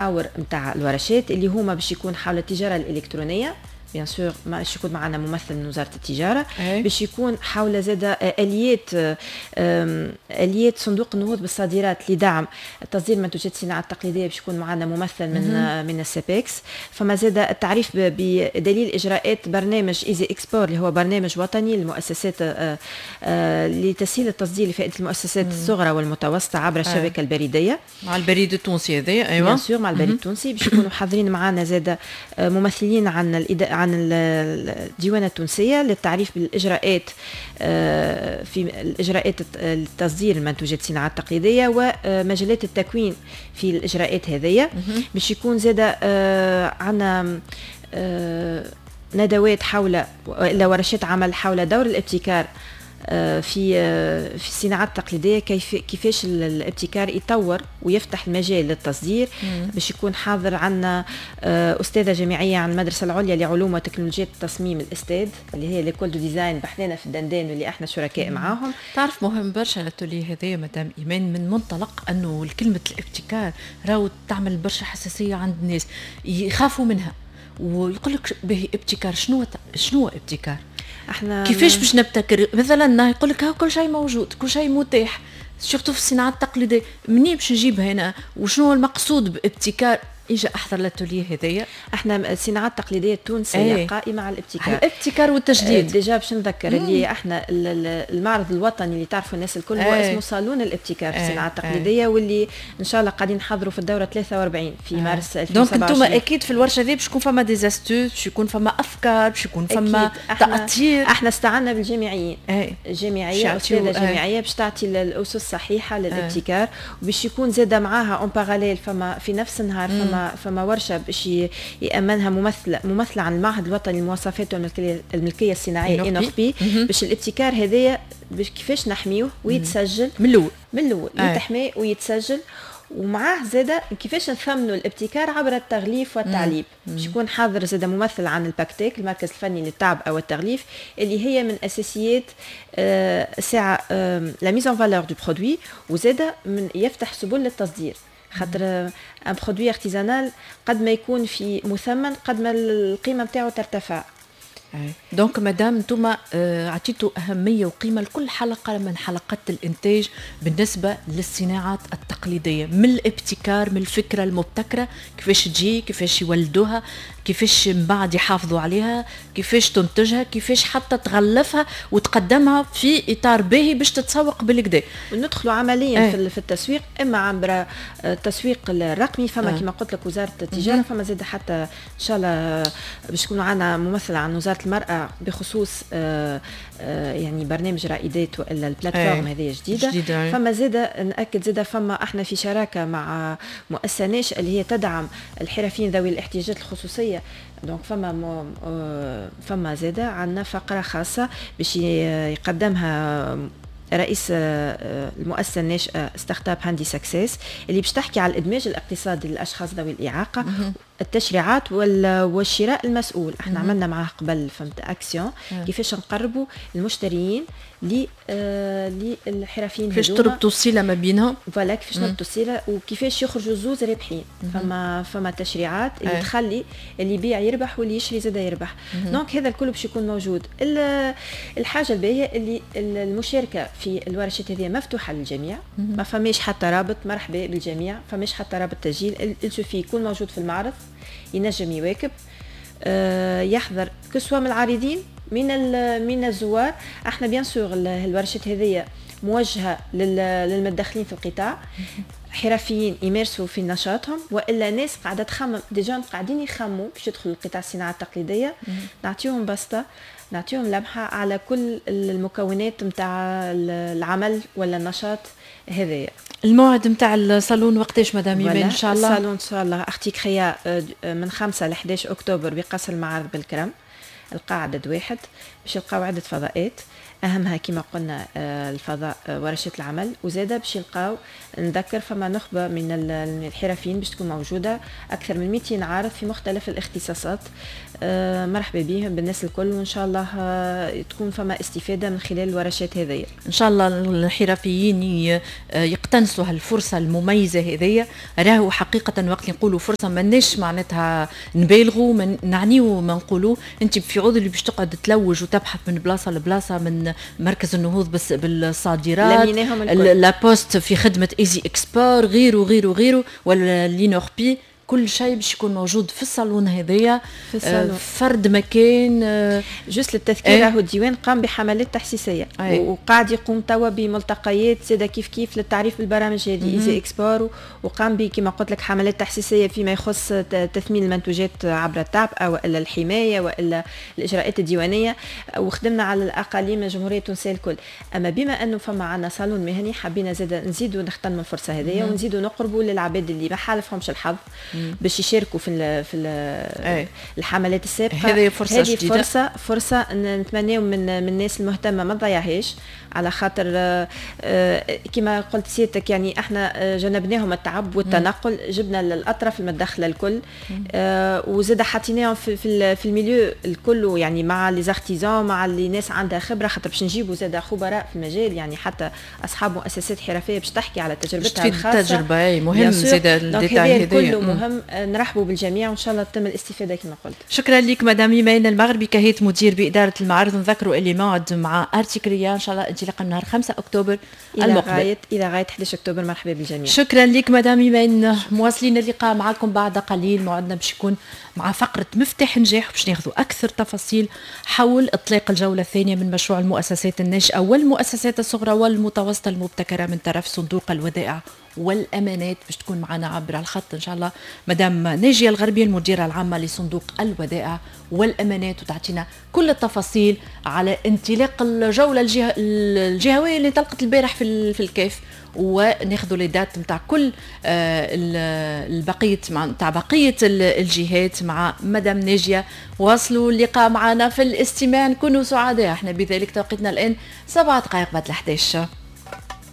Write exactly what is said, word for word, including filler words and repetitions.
المحاور نتاع الورشات اللي هما باش يكون حول التجارة الالكترونيه، bien sûr باش يكون معنا ممثل من وزارة التجاره، باش يكون حول زاد اليات اليات صندوق النهوض بالصادرات لدعم تصدير منتوجات الصناعة التقليديه، باش يكون معنا ممثل من من ال CEPEX. فما زاد التعريف بدليل اجراءات برنامج Easy Export، اللي هو برنامج وطني للمؤسسات آه، آه، لتسهيل التصدير لفائدة المؤسسات الصغرى والمتوسطة عبر الشبكة البريديه. مع البريد التونسي هذا، ايوه. bien sûr، مع البريد التونسي. باش يكونوا حاضرين معنا زاد آه، ممثلين عن عن عن الديوانة التونسية للتعريف بالإجراءات آه، في الإجراءات التصدير المنتوجات الصناعة التقليدية ومجالات التكوين في الإجراءات هذية. باش يكون زاد آه، عندنا آه، ندوات حول ورشات عمل حول دور الابتكار آه، في آه، في الصناعات التقليديه، كيف كيفاش الابتكار يطور ويفتح المجال للتصدير. باش يكون حاضر عندنا آه، استاذه جامعية عن المدرسة العليا لعلوم وتكنولوجيا التصميم الاستاد، اللي هي l'école de design بحذانا في الدندان واللي احنا شركاء معاهم. تعرف، مهم برشا l'atelier هذايا مدام ايمان، من منطلق انه كلمة الابتكار راهو تعمل برشا حساسية عند الناس، يخافوا منها ويقول لك به ابتكار، شنو شنو ابتكار؟ احنا كيفاش باش نبتكر مثلا؟ يقول لك كل شيء موجود، كل شيء متاح، surtout في الصناعة التقليديه، منين باش نجيب هنا؟ وشنو المقصود بابتكار؟ اجا احضر l'atelier هذايا. احنا الصناعات التقليدية التونسية ايه. قائمة على الابتكار. على الابتكار والتجديد. déjà باش نذكر اللي احنا المعرض الوطني اللي تعرفوا الناس الكل هو ايه. اسمه صالون الابتكار في الصناعة التقليديه، واللي ان شاء الله قاعدين نحضروا في الدورة ثلاثة وأربعين في ايه. مارس ألفين وسبعة وعشرين. donc انتم اكيد في الورشة هذه باش يكون فما des astuces، باش يكون فما افكار، باش يكون فما تاطير. احنا استعنا بالجامعيين ايه. الجامعيه، استاذه جامعية باش تعطي الاسس الصحيحة للابتكار، وباش يكون زاد معاها en parallèle فما في نفس النهار فما فما ورشه باش يامنها ممثله ممثله عن المعهد الوطني للمواصفات والملكيه الملكية الصناعية INNORPI، باش الابتكار هذايا باش كيفاش نحميوه ويتسجل. من الاول. من الاول يتحمي ويتسجل، ومعاه زاده كيفاش نثمنوا الابتكار عبر التغليف والتعليب. باش يكون حاضر زاده ممثل عن ال PACTEC، المركز الفني للتعبئه والتغليف، اللي هي من اساسيات آه، ساعة la mise en valeur du produit، وزاده من يفتح سبل للتصدير، خاطر un produit artisanal قد ما يكون في مثمن قد ما القيمة نتاعو ترتفع. donc مادام انتم آه، عطيتوا اهمية وقيمه لكل حلقة من حلقات الانتاج بالنسبة للصناعات التقليديه، من الابتكار، من الفكرة المبتكره كيفاش تجي، كيفاش يولدوها، كيفاش من بعد يحافظوا عليها، كيفاش تنتجها، كيفاش حتى تغلفها وتقدمها في اطار باهي باش تتسوق بالقدا. وندخلوا عمليا ايه. في التسويق، اما عبر التسويق الرقمي، فما اه. كما قلت لك وزارة التجاره، فما زاد حتى ان شاء الله باش يكون عندنا ممثل عن وزارة المراة بخصوص آه، آه، يعني برنامج رائدات والا ال plateforme ايه. هذه جديده، جديدة. فما زاد ناكد زاد فما احنا في شراكة مع مؤسسة ناشئة اللي هي تدعم الحرفيين ذوي الاحتياجات الخصوصيه، donc فما آه، فما زاده عندنا فقره خاصة باش يقدمها رئيس آه، المؤسسة الناشئة startup Handi Success، اللي باش تحكي على الادماج الاقتصادي للاشخاص ذوي الاعاقه، التشريعات والشراء المسؤول. احنا عملنا معاه قبل، فهمت، اكسيون كيفاش نقربوا المشتريين آه، للحرفيين. كيفاش تربطوا الصلة ما بينهم. voilà، كيفاش نربطوا الصلة وكيفاش يخرجوا زوز رابحين. فما فما تشريعات اللي أي. تخلي اللي يبيع يربح واللي يشري زاد يربح. donc هذا الكل باش يكون موجود. الحاجة الباهيه اللي المشاركة في الورشات هذه مفتوحة للجميع، ما فماش حتى رابط، مرحبا بالجميع، فماش حتى رابط تسجيل، il suffit يكون موجود في المعرض ينجم يواكب، آه، يحضر، que ce soit من العارضين، من من الزوار. احنا bien sûr الورشات هذه موجهة للمتدخلين في القطاع، حرفيين يمارسوا في نشاطهم والا ناس قاعدة تخمم، des jeunes قاعدين يخموا باش يدخلوا القطاع الصناعة التقليديه. نعطيهم بسطه، نعطيهم لمحه على كل المكونات نتاع العمل ولا النشاط هذايا. الموعد نتاع الصالون وقتاش مدام ايمان ان شاء الله؟ الصالون ان شاء الله Articrea آه، من خمسة ل أحد عشر اكتوبر بقصر المعارض بالكرم، القاعدة واحد. باش يلقاو عده فضاءات. اهمها كما قلنا آه، الفضاء، آه، ورشات العمل. وزاده باش يلقاو، نذكر، فما نخبة من الحرفيين باش تكون موجوده، اكثر من مئتين عارض في مختلف الاختصاصات. آه، مرحبا بهم بالناس الكل، وان شاء الله تكون فما استفاده من خلال الورشات هذه. ان شاء الله الحرفيين يقتنصوا هالفرصة المميزة هذيا. راهو حقيقة وقت نقولوا فرصة ماناش معناتها نبالغوا، ما نعنيو ما نقولوا. انت في عوض اللي باش تقعد تلوج وتبحث من بلاصة لبلاصه، من مركز النهوض بس بالصادرات، la poste في خدمة Easy Export، غيره غيره غيره، ولا l'INNORPI، كل شيء باش يكون موجود في الصالون هذايا. في الصالون. فرد مكان. آه، juste للتذكير، راهو الديوان قام بحملات تحسيسيه أيه. وقاعد يقوم توا بملتقيات زاده كيف كيف للتعريف بالبرامج هذه Easy Export، وقام كما قلت لك حملات تحسيسيه فيما يخص تثمين المنتوجات عبر التعبئه والا الحماية والا الاجراءات الديوانيه، وخدمنا على الاقاليم الجمهورية التونسية الكل. اما بما انه فما عندنا صالون مهني، حبينا زاد نزيدوا نغتنموا الفرصة هذه ونزيدوا نقربوا للعباد اللي ما حالفهمش الحظ باش يشاركوا في ال في ال الحملات السابقه. هذه فرصة هذه جديدة. فرصه فرصه نتمناو من من الناس المهتمة ما تضيعهاش، على خاطر آه، كما قلت سيادتك يعني احنا آه، جنبناهم التعب والتنقل، جبنا الاطراف المتدخله الكل، آه، وزاد حطيناهم في في, في ال milieu الكل، يعني مع les artisans، مع اللي ناس عندها خبره، خاطر باش نجيبوا زاد خبراء في المجال، يعني حتى اصحاب مؤسسات حرفية باش تحكي على تجربتها الخاصه. التجربة مهم زاد ال détail هذا كله مهم. نرحبوا بالجميع وان شاء الله تتم الاستفادة كما قلت. شكرا لك مدام ايمان المغربي، كهيت مدير بادارة المعارض. نذكروا اللي موعد مع ارتيكريا ان شاء الله انطلاقا من نهار خمسة اكتوبر الى المقبل غاية الى غاية أحد عشر اكتوبر. مرحبا بالجميع. شكرا لك مدام ايمان. مواصلين اللقاء معكم بعد قليل، موعدنا باش يكون مع فقره مفتاح نجاح، باش ناخذوا اكثر تفاصيل حول اطلاق الجولة الثانية من مشروع المؤسسات الناشئة والمؤسسات الصغرى والمتوسطة المبتكره من طرف صندوق الودائع والامانات. باش تكون معنا عبر الخط ان شاء الله مدام ناجيه الغربي، المديرة العامة لصندوق الودائع والامانات، وتعطينا كل التفاصيل على انطلاق الجولة الجه... الجهوية اللي انطلقت البارح في في الكاف، وناخذوا les dates نتاع كل آه، البقية نتاع بقية الجهات مع مدام ناجيه. واصلوا اللقاء معنا في الاستماع، نكونوا سعداء احنا بذلك. توقيتنا الان سبعة دقائق بعد الحداش.